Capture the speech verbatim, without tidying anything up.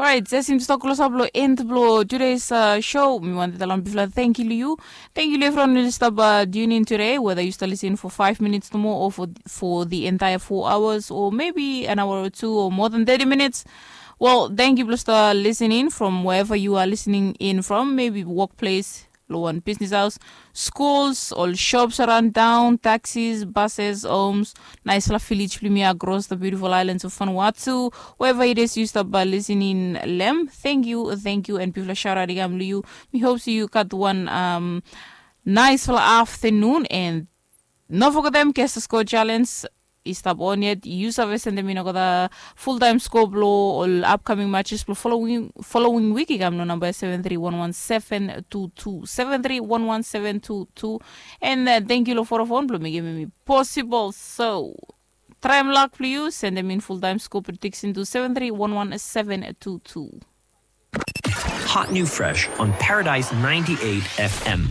Orait, jes im tok klosap long end blong tudes show, mi wantem talem bifala thank you long you. Thank you long everyone who stop uh, tune in today, whether you start listening for five minutes no more or for, for the entire four hours or maybe an hour or two or more than thirty minutes. Well, thank you blong start listening from wherever you are listening in from, maybe workplace, long wan bisnis haus, schools, ol shops around town, taxis, buses, homes, naisfala village blong mi across the beautiful islands of Vanuatu, wherever it is you stop by listening lem. Thank you, thank you, and bifala shout out i kam long you. Mi hope so you got one um, naisfala afternoon and no forget them guest score challenge. I stap on yet, yu save sendem in olgeta full time scope lo ol upcoming matches blong following, following week i kam long number seven three one one seven two two, seven three one one seven two two. And uh, thank you lo Vodafone blong making me possible. So, try and luck blong you, sendem in full time scope prediction to seven three one one seven two two. Hot new fresh on Paradise ninety-eight F M.